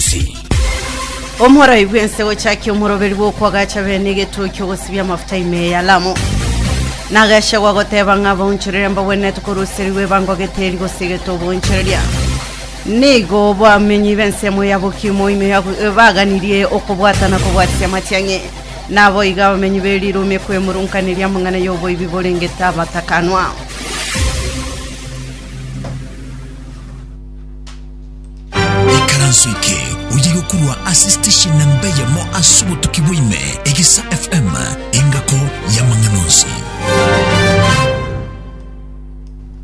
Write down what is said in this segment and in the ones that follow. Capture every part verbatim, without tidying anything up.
Onsi. Omorai bwense gochakia omoroberi bwokwagacha bene egetuo ogosibia amafuta ime ya Lamu. Nagasha goteba ng'a bonchereria mbabwenerete koruseriwe bango geteri gose getobonchereria. Nigo bamenyi b'ensemo ya Bokimo ime ya baganirie okobwatana kobwatia matiang'i. Nabo iga bamenyi berirume kwemurunkaneria amang'ana y'oboibi borengete abatakanwa. Ikaranso eke oye gokurwa ase station namba eyemo ase obotuki bwa ime Egesa F M engako y'amang'ana onsi.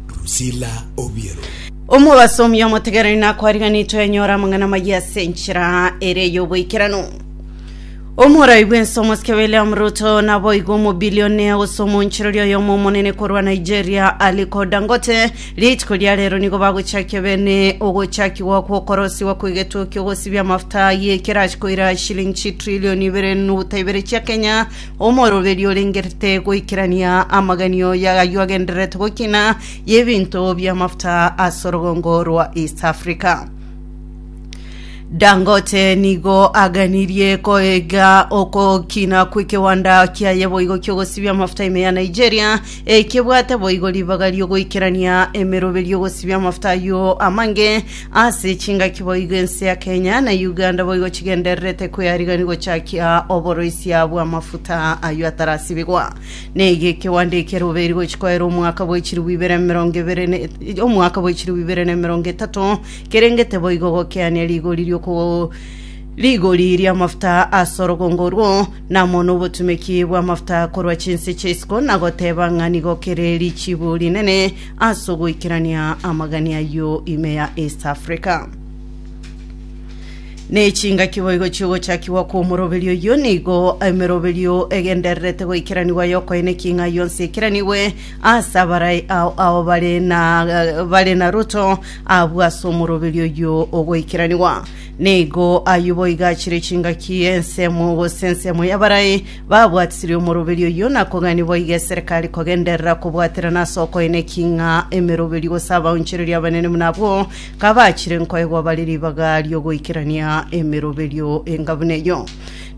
Drusilla Obiero. Omobasomi omotegereri nakwariganitwe enyora amang'ana maya ase enchera ere y'oboikeranu. Omorai bwense omosike William Ruto naboigo omobilionea gose omonchereri oyomo omonene korwa Nigeria Aliko Dangote rituko ria rero nigo bagochakia bene ogochakigwa gwokorosiwa kw'egetuo kiogosibia amafuta yekerachi koira shilingi chitrilioni ibere nuta ibere chia Kenya, omoroberi orengerete goikerania amaganio yayo agendererete gokina y'ebinto by'amafuta ase orogongo rwa East Africa. Dangote nigo aganirie koega okokina kw'ekewanda kiaye boigo kiogosibia amafuta ime ya Nigeria ekebwate boigo ribaga riogoikerania emeroberi ogosibia amafuta ayo amange ase chingaki boigo ense ya Kenya na Uganda boigo chigendererete kweyarigani gochakia oboroisia bwa amafuta ayo atarasibigwa. Nege ekewanda ekeroberi gochikoera omwaka bwa chiribu ibere mirongo ibere ne- omwaka bwa chiribu ibere na mirongo etato kerengete boigo gokeania rigori ryoko rigori ry'amafuta ase orogongo orwo namo n'obotumeki bw'amafuta korwa chinse chia na goteba ng'a nigo kere richibu rinene ase ogoikerania amagani ayo ime ya East Africa. Nechingaki boigo chigochakiwa kwa omoroberio oyo nigo emeroberio egendererete goikeranigwa yokoene king'a yonse ekeraniwe ase abarai ao ao bare na bare na Ruto abwo ase omoroberio oyo ogoikeranigwa. Nigo ayo boigo achire chingaki ensemo gose ensemo y'abarai babwatisirie omoroberio oyo na kogani boigo eserikali kogenderera kobwaterana ase okoene king'a emeroberio gose abaonchereria abanene buna abwo kabachire nkoegwa bare ribaga riogoikerania emeroberio engabuna eyo.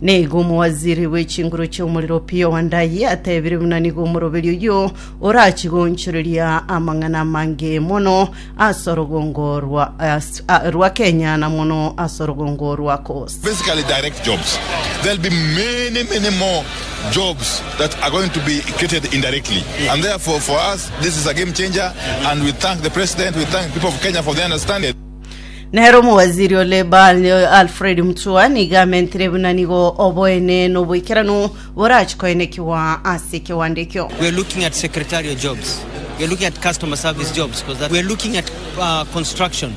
Nigo omowaziri bw'echinguru chi'omoriro Opiyo Wandayi atebire buna nigo omoroberio oyo orachigonchereria amang'ana amange mono ase orogongo rwa, as- a- rwa Kenya na mono ase orogongo rwa Coast. Basically direct jobs. There'll be many, many more jobs that are going to be created indirectly. And therefore, for us, this is a game changer. And we thank the president, we thank people of Kenya for their understanding. Nero omowaziri o Labour Alfred Mutua nigo amentire buna nigo oboene n'oboikeranu borachikoenekiwa ase ekewanda ekio. We're looking at secretarial jobs. We're looking at customer service jobs because we're looking at uh, construction,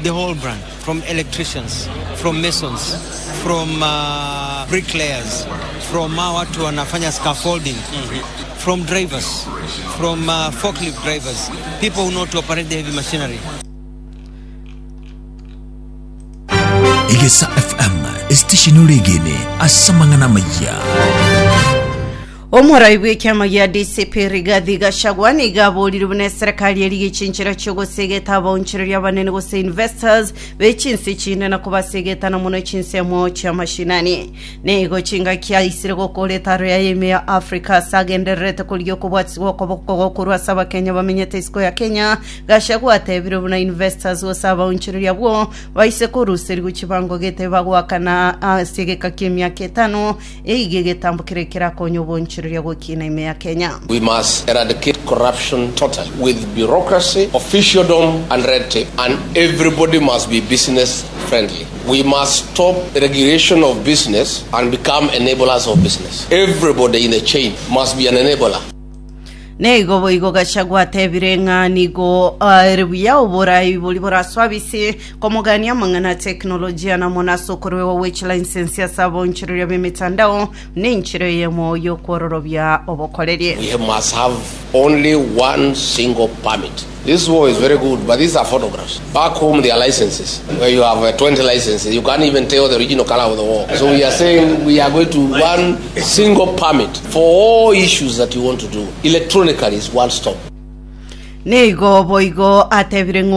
the whole brand, from electricians, from masons, from uh, bricklayers, from uh, watu wanafanya scaffolding, from drivers, from uh, forklift drivers, people who know to operate the heavy machinery. Egesa F M estation oregene ase amang'ana amaya. Omorai bw'ekiama gia D C P Rigathi Gachagua nigo aborire buna eserikali erigie chinchera chiogosegeta abaonchereria abanene gose investors bechinsi chinde na kobasegetana mono chinsemo chia mashinani. Nigo chingaki aisire gokora etaro ya ime ya Africa ase agendererete korigia okobwatigwa okoboko gokorwa ase abakenya bamenyete isiko ya Kenya. Gachagua atebire buna investors gose abaonchereria abwo baise koruserigwa chibango gete bagwakana ase egeka kia emiaka etano eige egetambukire kerakonya obonchereria gokina ime ya Kenya. We must eradicate corruption totally with bureaucracy, officialdom, and red tape. And everybody must be business friendly. We must stop regulation of business and become enablers of business. Everybody in the chain must be an enabler. Nigo boigo Gachagua atebire ng'a nigo ere buya oborai bori boraswabisi komogania amang'ana teknolojia namo ase okorwewa gwe chilicence ase abonchereria b'emitandao nenchero eyemo yokwororobia obokorerie. We must have only one single permit. This war is very good, but these are photographs. Back home, there are licenses. Where you have uh, twenty licenses, you can't even tell the original color of the wall. So we are saying we are going to one single permit for all issues that you want to do. Electronically is one stop. Nigo boigo atebire ng'a